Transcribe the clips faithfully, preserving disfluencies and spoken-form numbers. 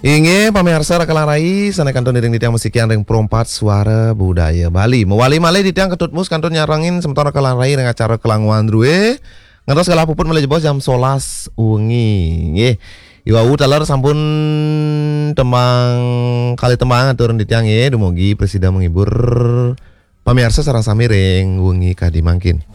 Inggih, pamiarsa Raka lan Rai, sané kantun iring titiang masikian ring Pro empat Suara Budaya Bali. Mawali malih titiang Ketut Mus kantun nyarengin semeton Raka lan Rai ring acara Kelanguan Drué. Ngantos galah puput malih jebos jam solas wengi. Nggih. Iwau taler sampun tembang kalih tembang aturang titiang nggih, dumugi prasida menghibur pamiarsa sareng sami ring wengi kadi mangkin.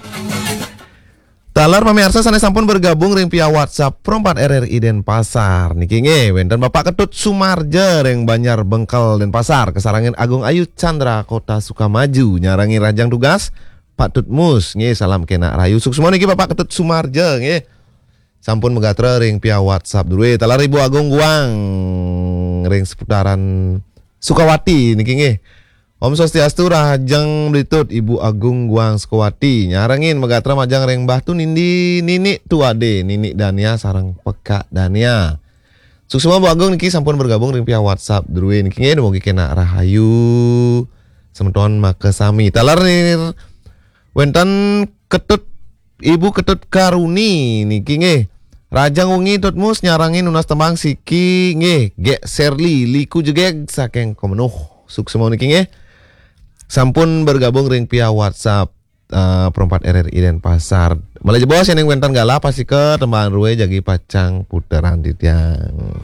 Taler pamiarsa sané sampun bergabung ring via WhatsApp Pro empat R R I Denpasar niki nggih, wénten Bapak Ketut Sumarja ring Banjar Bengkel Denpasar, kasarengin Agung Ayu Chandra Kota Sukamaju, nyarengin rahajeng tugas Pak Tut Mus nggih, salam kénak rahayu. Suksma niki Bapak Ketut Sumarja nggih. Sampun magatra ring via WhatsApp drué. Taler Ibu Agung Guang ring seputaran Sukawati niki nggih. Om Swastiastu, rahajeng mlitut Ibu Agung Guang Sukawati. Nyarengin magatra majeng ring Mbah Tunindi, Nini Tuade, Nini Dania sareng Pekak Dania. Suksma Bu Agung niki sampun bergabung ring via WhatsApp drué niki nggih, dumugi kénak rahayu semeton makasami. Taler nir wénten Ketut, Ibu Ketut Karuni niki nggih. Rahajeng wengi Tut Mus, nyarengin nunas tembang siki nggih, Gék Serli, Liku Jegég saking Kemenuh. Suksma niki nggih. Sampun bergabung ring via WhatsApp eh, Pro empat R R I Denpasar. Malih jebos yéning wénten galah pastika tembang drué jagi pacang puteran titiang.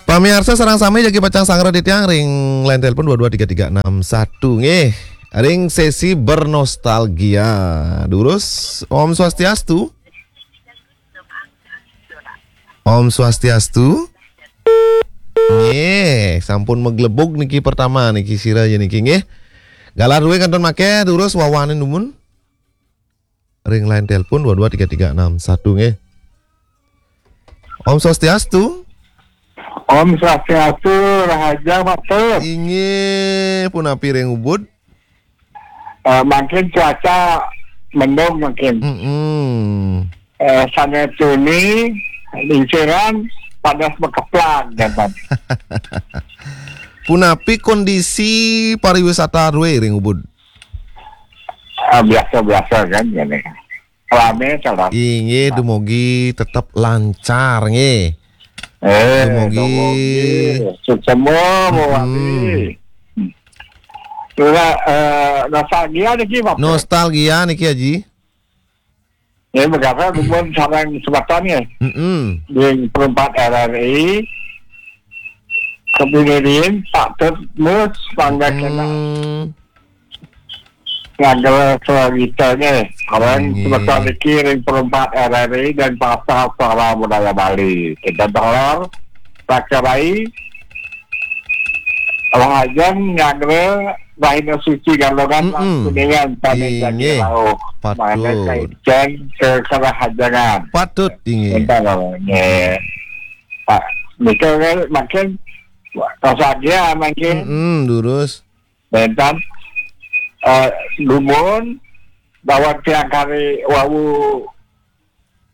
Pamiarsa sareng sami jagi pacang sangra titiang ring line telepon dua dua tiga tiga enam satu nggih. Ring sesi bernostalgia. Durus, Om Swastiastu. Om Swastiastu. Nggih, sampun maglebug niki pertama niki sira ya niki nggih. Galah drué kantun maké, durus wawanin dumun. Ring line telepon dua dua tiga tiga enam satu nggih. Om Swastiastu. Om Swastiastu, rahaja Pak Tut. Inggih, punapi ring Ubud? Eh, mangkin cuaca mendung mangkin. Mm-mm. Eh, sané tuni, linciran, panas makeplang, kan. Punapi kondisi pariwisata drué ring Ubud? Ah, biasa-biasa kan, ngene. Ramé, salah. Inggih, dumugi tetep lancar, nggih. Eh, dumugi. Dumugi. Suksma, mm-mm. Mawali. Ora, eh, nostalgia niki, Bapak? Nostalgia niki, Aji. Ya, magatra dumun sareng semeton ya. Mm-mm. Ring Pro empat R R I. Kepingirin, Pak Tut Mus, mangga kénak. Mm. Ngagel sawitanya. Sareng semeton niki ring Pro empat R R I Denpasar Suara Budaya Bali. Kita taler, Raka Rai, rahajeng nyanggra rahina suci Galungan lan Kuningan sané jagi rauh. Inggih. Patut. Mangda kaicén kerahajengan. Patut, inggih. Énten, nggih. Pak, nika kan mangkin nostalgia mangkin. Mm-mm, durus. Énten, eh, dumun, daweg tiang kari wau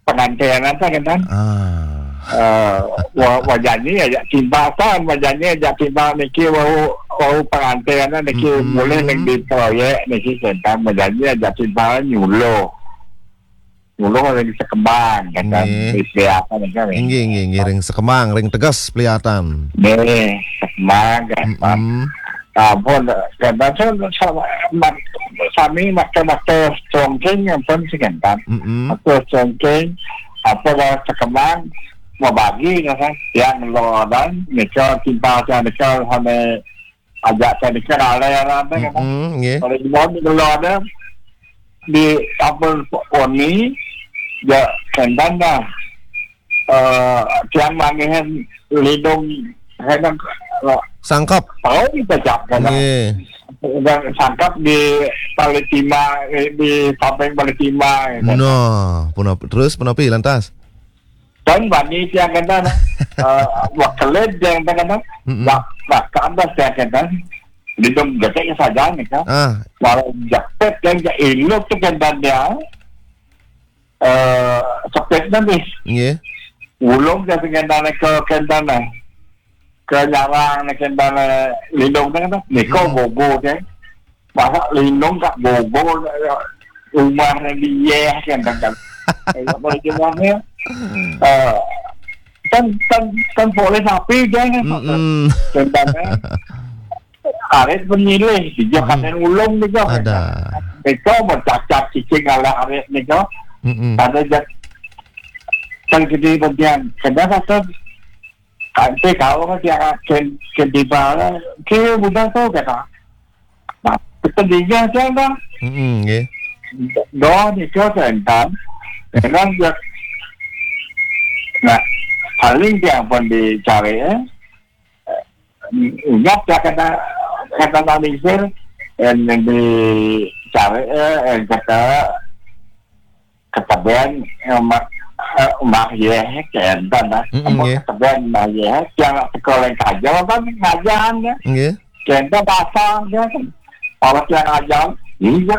pangantén apa, kan? Ah. Eh, wa-, wajanji ajak timpal, kan? Wajanji ajak timpal niki wau, wau pangantén niki. Mm-mm. Mulih ning di proyek niki, kan? Wajanji ajak timpal nyuluh. Nyuluh ring Sekembang, kan? Nggih. Di apa niki, kan? Inggih, inggih, inggih, ring Sekembang, ring Teges, Peliatan. Nggih, Sekembang, kan? Mm-mm. Ampun, kadang sa-, sa-, mat-, sami makta-makta congkéng ampun sing énten. Mm-mm. Makta congkéng, apa dah Sekembang, mabagi, kan, tiang ngelodan, nika timpal tiang nika sané ajak tiang nika ngalih, kan. Mm-mm, nggih. Kalau di bawah ngelodan, di ampun oni, ya, kénten dah. Eh, tiang manggihin lindung, kadang, eh, sangkep. Tahu kita siapa, kan? Nggih. Dan sangkep di Balitima, eh, di samping Balitima, gitu. Nah, punapi, terus punapi lantas? Dan bani tiang kena, eh, wakelit tiang kena, mm-mm, wak-, wakandas tiang kena, lindung gede saja nih, kan? Ah. Walau jepit tiang ke iluk tuh kena dia, eh, sepit nanti. Nggih. Ulung ke kena ke kena, ke nyarang nih kena lindung nih, kan? Niko, mm-mm, gogo, kan? Masa lindung kak gogo, ya. rumah nang di yeh kan, kan, kan. Kalau jumahnya, eh, kan, kan, kan boleh sapi dia kan. Mm-mm. Tentangnya arit penyilih, dia Mm-mm. Kadang ulung ni kan. Ada. Mereka bercacap cicing ala arit ni kan. Mm-mm. Ada jat, kan gede bagian. Kadang kata, kan saya tahu kan dia akan gede bala. Kira mudah tu kata. Nah, kita dia kan kan. Mm-mm, nggih. Doa ni ke tentang. Dengan dia. Nah, paling dia pun dicari, eh. Ingat ya kata, kata Malaysia, yang dicari, eh, yang kata, kata Ben, eh, mak, eh, mak yeh, kata dah. Mm-mm, apa nggih. Kata Ben, mak yeh, yang sekolah kaja, apa ngajaran ya? Nggih. Kata pasang dia kan. Kalau yang ngajar, iya.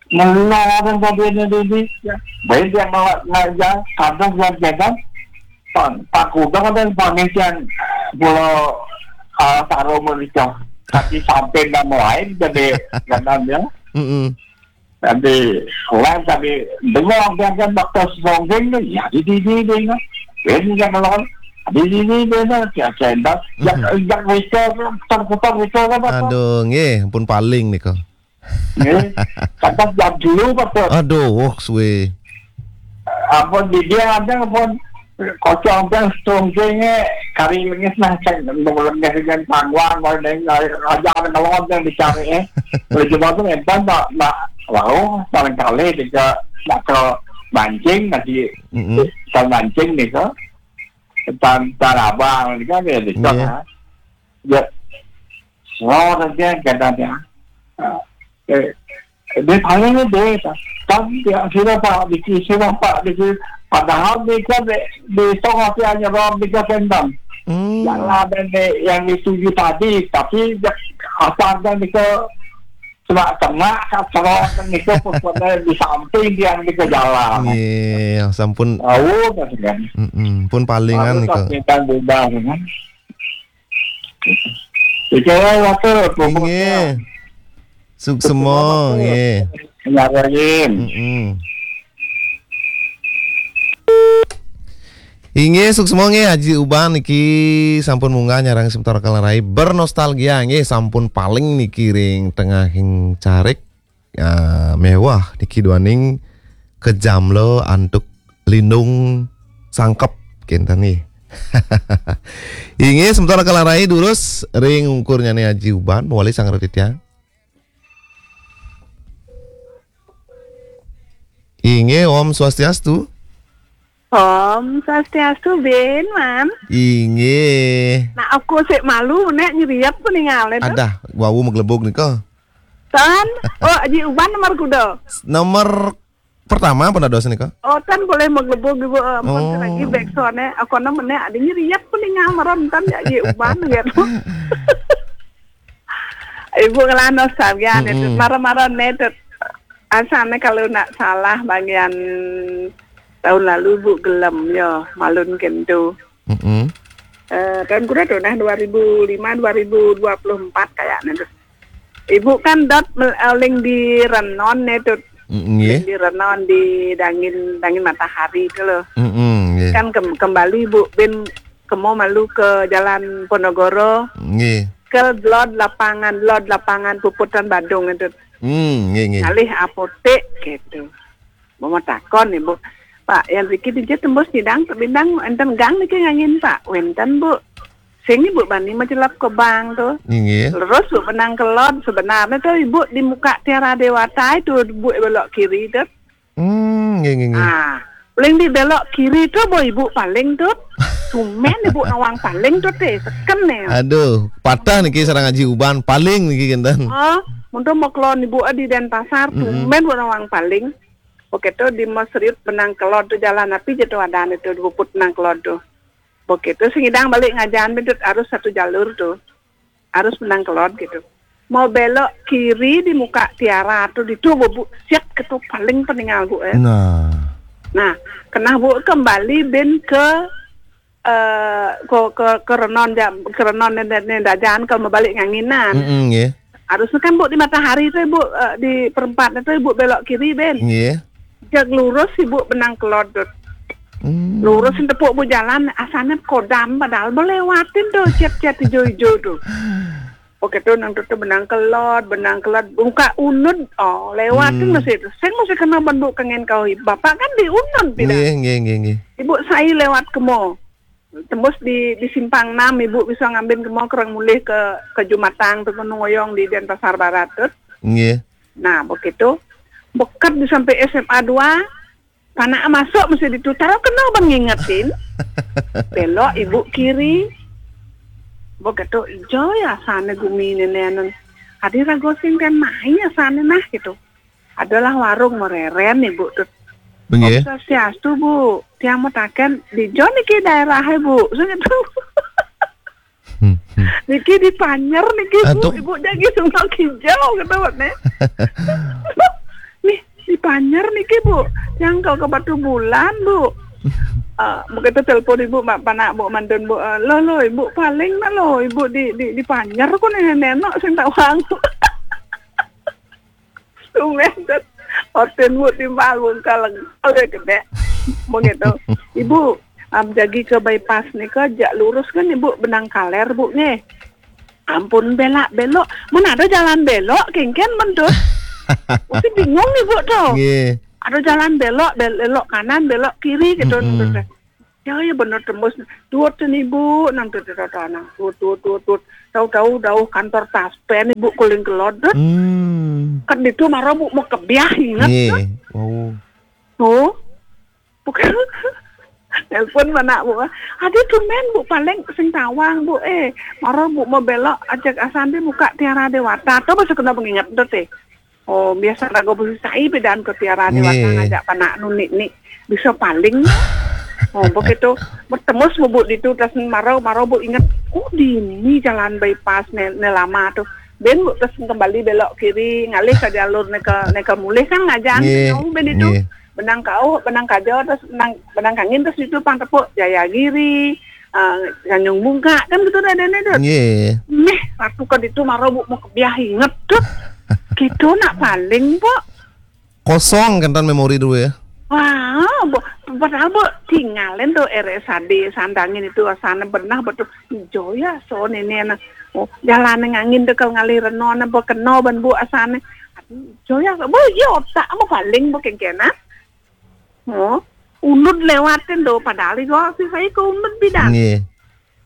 Melarang kabinda dini. Baik dia mau ngajar, kadang dia jaga. Pak, Pak Kuda kadang pamikian pulau, ah, taruh mereka. Tapi sampai nama lain jadi ganam ya. Mm-mm. Tapi lain tapi dengar dia kan bakal songgeng ni, ya di di di di ni. Ini yang lawan di di di di ni, ya saya dah. Ya, Mm-mm. Ya mereka kan, terputar mereka kan apa? Aduh, nggih, pun paling nika. Nggih. Kata jam dulu, Pak, Pak. Aduh, wah, suwe. Apa di dia ada apa kocok apa strong kene kari lengis nah, cek nang lengis dengan pangwang, kalau neng aja ada ngelon yang dicari, eh. Kalau cuma tu entah tak, tak, wow, paling kali dia nak ke mancing, nanti Mm-mm. Ke mancing ni ke. Tan, tan abang ni kan dia, dia Iya. Kan, ha. Dia, oh, dia kata dia. Ah, eh, dia paling ni dia, kan dia sila pak, di sila pak, di sila. Padahal dia kan di, di tengah dia hanya orang dia kan. Hmm. Yang ada ni, yang dituju tadi, tapi dia asal dan dia ke semak-semak, kat semak, dan dia ke pun di samping dia, dia ke jalan. Iya, sampun. Tahu kan, kan? Mm-mm, pun palingan. Lalu nika. Tak minta bubar, kan? Percaya lah tu, pokoknya. Inggih. Suksema, nggih. Nyarain. Mm-mm. Inggih, suksema nggih, Haji Uban niki sampun munggah nyarengin semeton Kalarai bernostalgia nggih, sampun paling niki ring tengahing carik. Ya, mewah niki duaning kejamla antuk lindung sangkep kinten nggih. Inggih, semeton Kalarai durus ring ungkurnyane Haji Uban, mawali sareng titiang. Inggih, Om Swastiastu. Om Swastiastu, Ben, Man. Inggih. Nah, aku sik malu nek nyeriep ku ningalne tu. Adah, wau maglebug nika. Tan, oh, Haji Uban nomor kuda. Nomor pertama pun ada nika. Oh, tan boleh maglebug ibu, eh, ampun. Oh. Lagi back sound-e. Aku nama nek ada nyeriep ku ningal maram tan ya Haji Uban gitu. Ibu ngelah nostalgia nih, Mm-mm. Tut. Mara-mara nih, Tut. Asalnya kalau nak salah bagian tahun lalu, Bu, gelem, ya, malun kentu. Mm-mm. Eh, tahun kuda tuh, nah, dua ribu lima, dua ribu dua puluh empat kayaknya, Tut. Ibu kan dot mel-, eh, ling di Renon nih, Tut. Mm, nggih. Ling di Renon, di Dangin, Dangin Matahari itu loh. Mm-mm, nggih. Kan kem-, kembali, Bu, bin kemo malu ke Jalan Ponorogo. Nggih. Ke lot lapangan, lot lapangan puputan Badung itu. Hmm, nggih, nggih. Ngalih apotek gitu. Mau takon, Ibu. Pak, yang riki dija tembus nyidang, bintang enten gang niki ngangin, Pak. Wenten, Bu. Sing Ibu bani macelap ke bank tu. Nggih. Terus Bu menang ke lot, sebenarnya tu Ibu di muka Tiara Dewata itu, Bu belok kiri tu. Hmm, nggih, nggih, nggih. Ah, paling di belok kiri tu, boh, Ibu paling tu. Tumen Ibu nawang paling tu teh, seken nih. Aduh, patah niki sareng Haji Uban, paling niki kinten. Oh, untuk mau kelon Ibu di Denpasar, mm-mm, tumen Bu nawang paling. Oke tu di Mesriut benang kelon tu jalan api je tu ada nih tu, dua put benang kelon tu. Oke tu sing idang balik ngajan tu harus satu jalur tu. Harus menang kelon gitu. Mau belok kiri di muka Tiara tu, di tu Bu siap ke tu paling peningal Bu, eh. Nah. Nah, kena Bu kembali bin ke, eh, ke, ke, ke Renon ja-, ke Renon ni, ni, ni dah jalan kalau mau balik nganginan. Mm-mm, nggih. Harusnya kan, Bu, di Matahari tuh, Bu, eh, di perempatnya tuh, Bu, belok kiri, Ben. Nggih. Jag lurus, Ibu, benang kelodot. Hmm. Lurus sing tepuk, Bu, jalan, asane kodam, padahal mau lewatin tuh, cet-cet ijo-ijo tuh. Oke, tuh, nang tuh, tuh, benang kelod, benang kelod, buka unud, oh, lewatin. Hmm. Masih itu. Sing masih kena ban, Bu, kengen kau, Bapak kan di unud, tidak? Nggih, nggih, nggih, nggih. Ibu, saya lewat kemo. Tembus di, di simpang enam, Ibu bisa ngambil kemo kerang mulih ke, ke Jumatang, tuh, Gunung Oyong di Denpasar Barat, tuh. Nggih. Nah, begitu. Bekat di sampai S M A dua, panak masuk mesti ditu. Taruh kena ban ngingetin. Belok, Ibu, kiri. Begitu, ijo ya sana gumi nenenan. Adi rago sing kan mai ya sana nah, gitu. Adalah warung mereren, Ibu, tuh. Nggih. Om Swastiastu, Bu. Tiang mau taken di jo niki daerahnya, Bu. Saya tuh. Hmm, hmm. Niki di Panjer niki, Bu. Aduh. Ibu jagi Sungai Kijau, gitu, Bu, nih. Nih, di Panjer niki, Bu. Yang kau ke Batu Bulan, Bu. Eh, begitu telepon Ibu, Mak, panak, Bu, mantun, Bu. Eh, lo, lo, Ibu paling nah, lo, Ibu di, di, di Panjer, kok nih, nenok sing tawang. Tumben, Dut. Oten, Bu, timbal, Bu, kaleng. Oke, gede. Begitu. Ibu, am, jagi ke bypass nih, ke jak lurus kan, Ibu, benang kaler, Bu, nih. Ampun, belak, belok. Mana ada jalan belok, kengken, mendut. Mesti bingung, Ibu, tuh. Nggih. Ada jalan belok, bel-, belok kanan, belok kiri, gitu, mm-mm, mendut. Ya, ya, bener tembus. Tuut, Ibu, nang tuut, tuut, tuut, nang tuut, tuut, tuut, tuut. Tahu-tahu, dauh kantor taspen, Ibu, kuling kelodot. Hmm. Kan itu marah, Bu, mau kebiah, ingat, nggih, kan? Wow. Tuh. Bukan. Nelpon mana, Bu? Ada tumben, Bu, paling sing tawang, Bu. Eh, marah, Bu, mau belok, ajak asande buka Tiara Dewata. Tuh, masa kena pengingat, tuh, teh. Oh, biasa rago besi sai, bedaan ke Tiara Dewata, nggih, ngajak panak nunik nih. Bisa paling. Oh, begitu. Bertemu sama Bu ditu, terus marau, marau, Bu, ingat, oh, di ini jalan bypass ne, ne lama tuh. Ben, Bu, terus kembali belok kiri, ngalih ke jalur neka, neka mulih kan ngajak, nggih, jauh, Ben, itu. Nggih. Benang kau, benang kajo, terus benang, benang kangin, terus itu pang tepuk Jayagiri, eh, Tanjung Bungka, kan gitu dah, Dene, Dut. Nggih. Meh, waktu ke ditu marau, Bu, mau kebiah inget, Dut. Gitu nak paling, Bu. Kosong kan memori dulu ya. Wah, Bu, padahal, Bu, tinggalin tuh R S A D, sandangin itu asana benah betul. Ijo ya, so nene na. Oh, jalan ngangin dekel ngalih reno na, Bu, keno ban, Bu, asana. Aduh, ijo ya, Bu, iya otak, Bu, paling, Bu, kengkena. Oh, unud lewatin tuh, padahal itu si saya ke unud bidan. Nggih.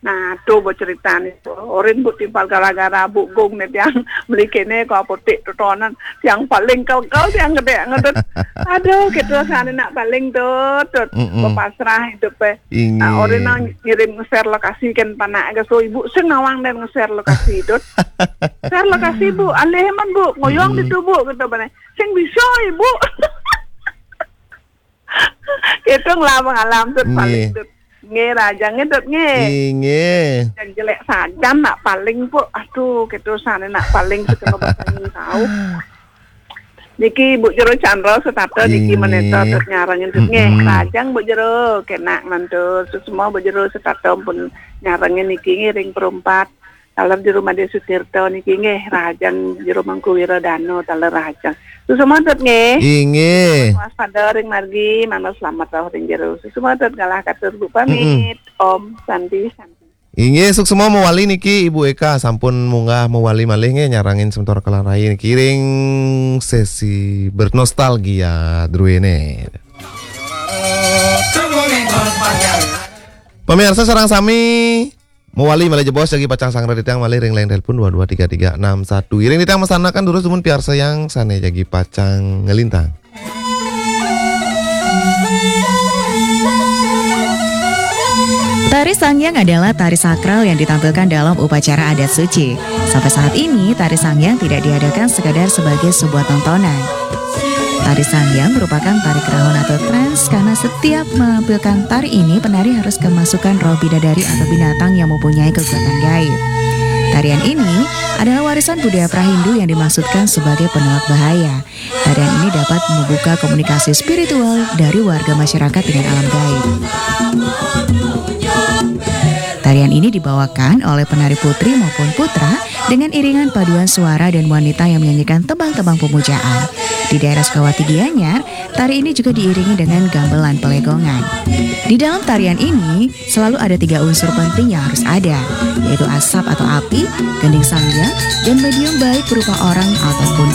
Nah, tuh, Bu, cerita nih, Bu. Orin, Bu, timpal gara-gara Bu Gung nih, tiang beli kene ke apotek tuh, tonan. Tiang paling kau-kau, tiang gede, ngedut. Aduh, gitu, sana nak paling tuh, tuh. Mm-mm. Berpasrah hidup, eh. Nah, inggih, Orin nang ngirim nge-share lokasi kan, panak ke so Ibu, sing nawang dan nge-share lokasi, Dut. Share lokasi, Bu, alih man, Bu, ngoyong, mm-mm, di tubuh, gitu, bane. Sing bisa, Ibu. Hitung lah mengalam, Dut, paling, nggih, Dut. Nggih, rajang, Dut, nggih. Inggih. Yang jelek saja nak paling, Bu. Aduh, gitu sana nak paling, sekolah bahasa tahu. Niki Bu Jero Chandra setata niki, inggih, meneta, Dut, nyarengin, Dut, nggih. Mm-mm. Rajang Bu Jero, kena mantu. Semua Bu Jero setata pun nyarengin niki, ngiring perempat. Taler Jero Made Sutirta niki nggih, rahajeng Jero Mangku Wiradana, taler rahajeng. Suksma, Dut, nggih. Inggih. Waspada ring margi, manut slamet rauh ring jero. Suksma, Dut, galah katur, Bu, pamit. Mm-mm. Om Santi, Santi. Inggih, suksma mawali niki Ibu Eka, sampun munggah mawali malih nggih, nyarengin sementara kalarai niki ring sesi bernostalgia druene. Pamirsa sareng sami, mawali malih jebos jagi pacang sanggra titiang malih ring line telepon dua dua tiga tiga enam satu. Iring titiang masanakan durus dumun piarsayang sane jagi pacang ngelintang. Tari Sangyang adalah tari sakral yang ditampilkan dalam upacara adat suci. Sampai saat ini, tari Sangyang tidak diadakan sekadar sebagai sebuah tontonan. Tari Sangyang merupakan tari kerahon atau trans karena setiap menampilkan tari ini, penari harus kemasukan roh bidadari atau binatang yang mempunyai kekuatan gaib. Tarian ini adalah warisan budaya Prahindu yang dimaksudkan sebagai penolak bahaya. Tarian ini dapat membuka komunikasi spiritual dari warga masyarakat dengan alam gaib. Tarian ini dibawakan oleh penari putri maupun putra dengan iringan paduan suara dan wanita yang menyanyikan tembang-tembang pemujaan. Di daerah Sukawati Gianyar, tari ini juga diiringi dengan gamelan pelegongan. Di dalam tarian ini selalu ada tiga unsur penting yang harus ada, yaitu asap atau api, gending sangga, dan medium baik berupa orang ataupun